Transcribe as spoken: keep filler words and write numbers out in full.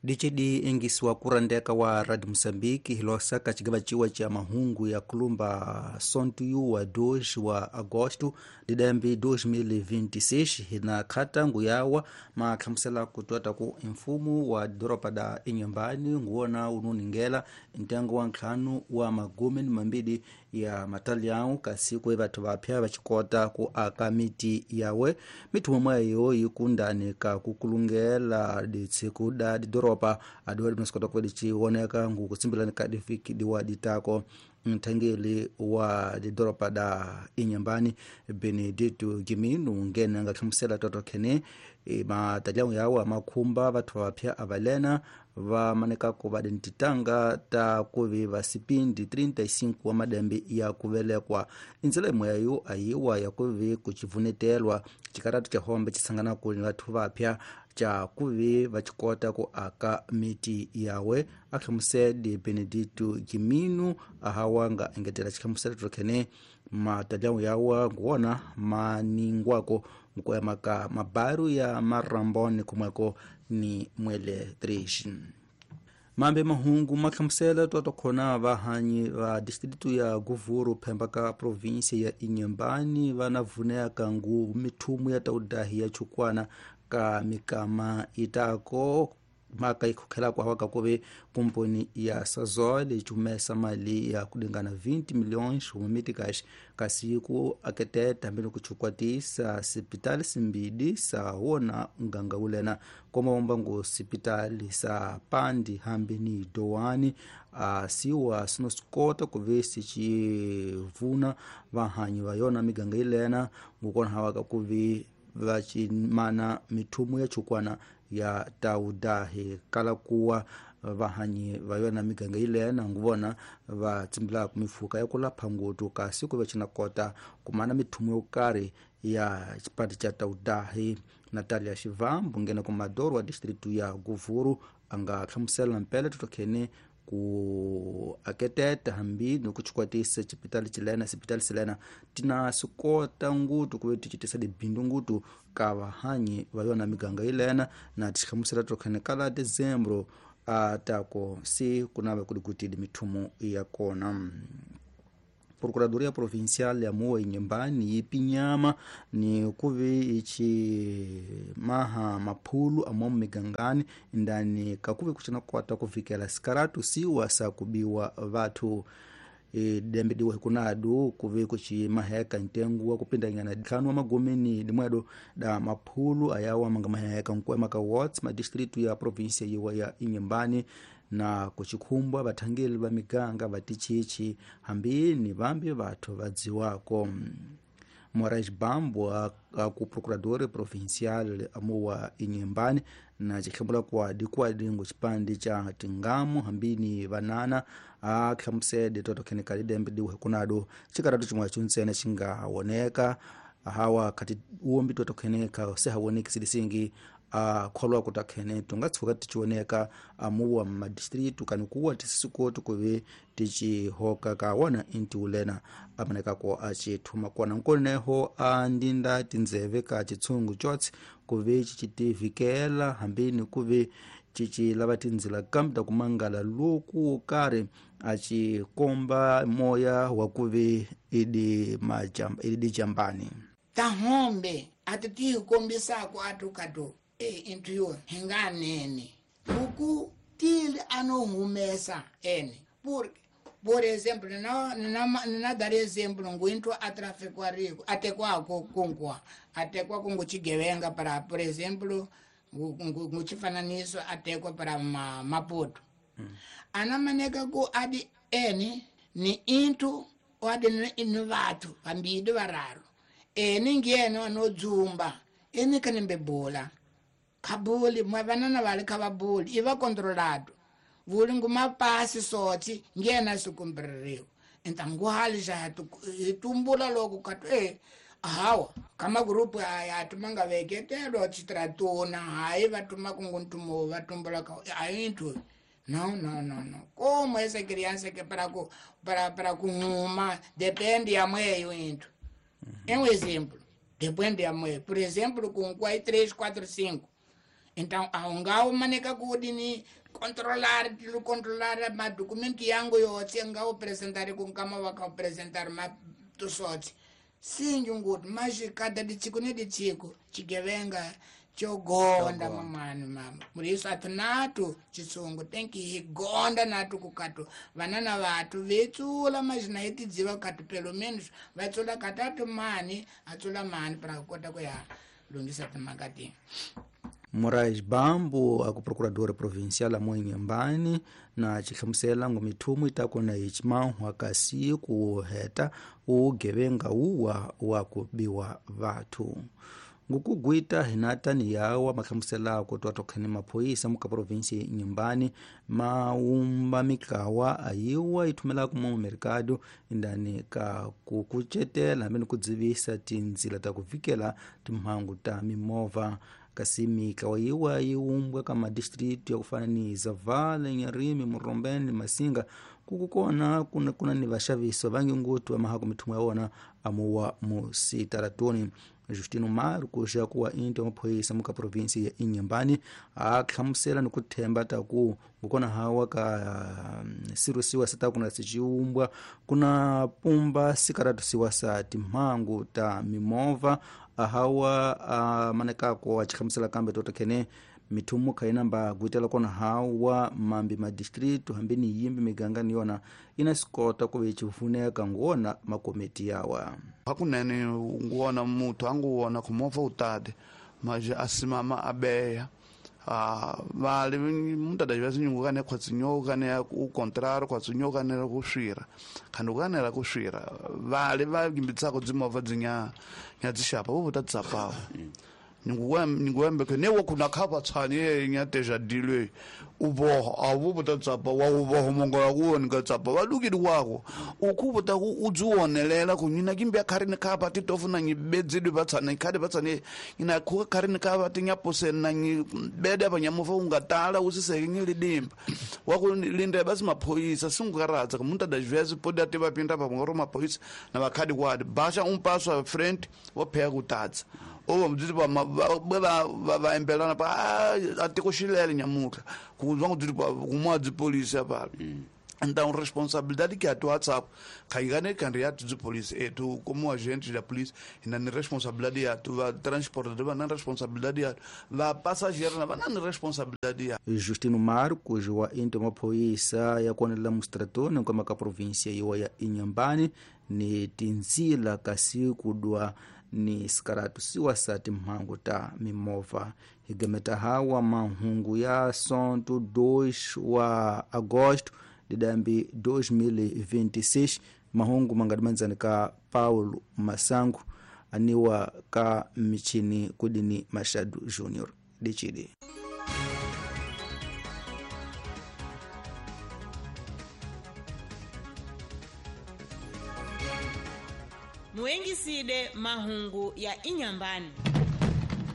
D C D engisiwa kurandeka wa Radio Moçambique hilosa ka cigaba ciwa ca mahungu ya kulumba sontuyu wa dois wa agosto de dembe dois mil e vinte e seis, hina khatangu yawa mahlamusela kutwata ku mfumo wa doropa da Inhambane nguwona ununingela ntengo wa ntlhanu wa magumi ni mambili ya matalhão kasi kwe vathu vapya vacikota ku aka miti yawe. Miti momweyo yikundani ka kukulungela ditsiku da didoropa adiwa dinasikota kuva diciwoneka ngukutsimbelani ka difiki diwa ditako. Nthangeli wa didoropa da Inhambane, Benedito Gimino, ngene nga hlamusela toto khene e, matalhão yawo amakhumba vathu vapya avalena va manekaku va dintitanga ta kuvi va sipindi trinta e cinco wa madembe ya kuvelekwa. Indzela imwe yayo ayiwa ya kuvi kucivunetelwa cikaratu ca hombe cisanganaku ni vathu vapya ca kuvi vacikota ku aka miti yawe, ahlamusele Benedito Gimino. Ahawanga engetela cihlamuselo tokhene matalhão yawa nguwona maningwako nkuema ka mabaru ya Marambone kumweko ni Mwele três. Mambe mahungu mahlamusela twatokhona vahanyi va distrito ya Govuro phemba ka província ya Inhambane va na vuneka ngu mithumu ya taudahi ya chukwana ka mikama itako maka ikhokhelako hawaka kuve kumponi ya Sasol icumesa mali ya kulingana vinte milhões humiticas kasi ku aketeta mbele kuchukwatisa sipitali simbidi sa wona nganga ulena komaomba ngu sipitali sa Pandi hambi ni Doani asiwa sinosikota kuve sicivuna vahanyi va yona miganga ilena ngukona hawaka kuve vacimana mithumu ya chukwana ya taudahi kala kuwa vahanyi va yona miganga ilena nguvona va tsimbilaka mifuka ya kulapha ngutu kasi kuve cinakota kumana mithumu yo karhi ya xipati ca taudahi. Natalia Xivambu ngena kumadoro wa distrito ya Govuro a nga hlamusela mpela totokhene ku aketeta hambi ni ku cikwatisa cipitali cilena sipitali silena tina sikota ngutu kuve ticitisa libindu ngutu ka vahanyi va yona miganga ilena na tixihlamusela tokhene kala dezembro a tako se kunava kuli kutili mithumu ya kona. Procuradoria Provincial ya Moa Inhambane yipinyama ni kuve ici maha maphulu amomo migangani ndani kakuve kucina kwata kuvikela sikaratu siwa sa kubiwa vathu dembe diwa hikunadu kuve kucimaheka ntengo wa kupindanyana ntlhanu wa magumi ni dimwedo da maphulu ayawa manga maheka nkuema ka wards madistritu ya província yiwa ya Inhambane na kuchikhumbwa vathangeli va miganga va tichichi hambi ni vambi vathu va dziwako. Moraes Bambo aku procurador provincial amuwa Inhambane na cihlambula kwa dikwadingo cipandi ca tingamu hambi ni vanana a hlamusele totokhene lidembe diwe kunado cikaratu cimwe cuntsene cingawoneka hawa khati uwombi totokheneka se hawoneki silisingi a kholwa kutakhene tungatshuka tichioneka amuwa madistritu kani kuwa tisisikotu kuve ticihoka ka wona inti ulena amanekako acithuma kona nkoneho andinda tindzeve ka chitshungu chotse kuve cicitivikela hambini kuve cicilava tindzila kambe ta kumangala loku karhi acikomba moya wa kuve idi majamba idi jambani. Tahombe ati ti kombisako atukatu e intu yo hinganene buku tili anohumesa ene por por exemplo na na na dar exemplo nguintu atrafikwariku atekwako kunkwa atekwa kungu chigevenga para por exemplo nguchifananiso atekwa para ma, Maputo mm. Anamaneka ku adi ene ni intu adi ni vathu vambili vararu ene ngene anodzumba ene kanembe bola kabuli mwe vanana vali kavabuli iva controlado vuli ngumapasi sotsi ngena sikumbririwa entanguhali xa hitumbula loko katu e hawa kama grupu aya tumanga veketelo chitratuna hayi vatuma kunguntumo vatumbula ka ayintu no no no no como essa criança que para ku para para kuhuma depende ya mweyo into. É um exemplo depende ya mweyo por exemplo com quatro três quatro cinco. Então aungao maneka kudini controlar tilu controlar ma documento yangu yotse ngao apresentar com kama waka apresentar ma tusotse sinjungut mas cada de chico ne de chico chigevenga chogonda mamani mama muriso atinatu chisungu tem que gonda natu kukatu vanana vatu vetsula mas na etidziva katu pelo menos vatsula katatu mani atsula mani para kota kuya lungisa timakati. Moraes Bambo a ku procuradora provincial amo Inhambane na xihlamusela ngo mithumu yi ta kona hi ximanhwa kasi ku heta ugevenga wuwa wa ku biwa vathu ngukugwita hinatani yawa mahlamusela ku twa tokhani maphoyisa muka provinsi Inhambane maumba mikawa ayiwa yi thumela ku mercado indani ka ku kucetela hambi ni ku dzivisa tindzila ta ku vikela timhangu ta mimovha kasi mikawa yiwa yi umbwa ka madistritu ya ku fana ni Zavala, Nyarimi, Murombeni, Masinga kukukona kuna, kuna ni vaxavisi vangi nguthu va mahako mithumu ya wona amuwa musitaratoni. Justino Marcos ya kuwa into maphoyisa muka provinsi ya Inhambane a hlamusela ni ku themba ta ku ngukona hawa ka sirusiwa sa ta kuna siciumbwa kuna pumba sikaratusiwa sa timhangu ta mimovha ahawa a manekako a xihlamusela kambe totokhene mithumu kha inamba gwitela kona hawa mambi madistritu hambi ni yimbi miganga ni yona ina sikota ku ve chifuneka ngona makomiti yawa hakunene nguona muthu anguwona kumovha utade maje asimama abeya ah vale muntu adajiva sinyungu kane khwatsinyo kane u contrario khwatsinyo kane ku swira khandi kane ra ku swira vale va gimbitsako dzimovha dzinya nya dzishapa vo ta tsapawo nguwembe ke ne wo kuna khapa tshani nya teja dilwe uboho awu buta tsapa wa uboho mongola kuoni ka tsapa va lukili wako ukhubuta ku udziwonelela ku nyina kimbi khari ni khapa ti tofuna nyi bedzidwe va tshana khadi va tshane ina khu khari ni khapa ti nyapose na nyi bede ba nyamufa ungatala usiseke nyi lidimba wa ku linde basi maphoyisa singukaradza ku muntu adajvezi podi ati va pinda pa ngoro maphoyisa na vakhadi kwadi basha umpaswa friend wo pheya kutatsa oba mdziti ba ba ba embelana pa atikoxilele nyamutlha ku zwa ngudzi pa kumwa dzi police apa então responsabilidade que a tu WhatsApp caigane candidato de polícia e tu como agente da polícia na responsabilidade ya tu va transportador va na responsabilidade ya va passageiro na va na responsabilidade ya. Justino Marcos wa into maphoyisa ya konela mustratoni kwa maka província yiwa ya Inhambane ni tinzila kasi kudwa ni sikaratu siwa sa timhangu ta mimovha higemeta hawa mahungu ya sonto dois wa agosto didambi dois mil e vinte e seis mahungu mangadimanzani ka Paulo Masangu aniwa ka michini kudini Machado Junior dichidi. Muengiside mahungu ya Inhambane.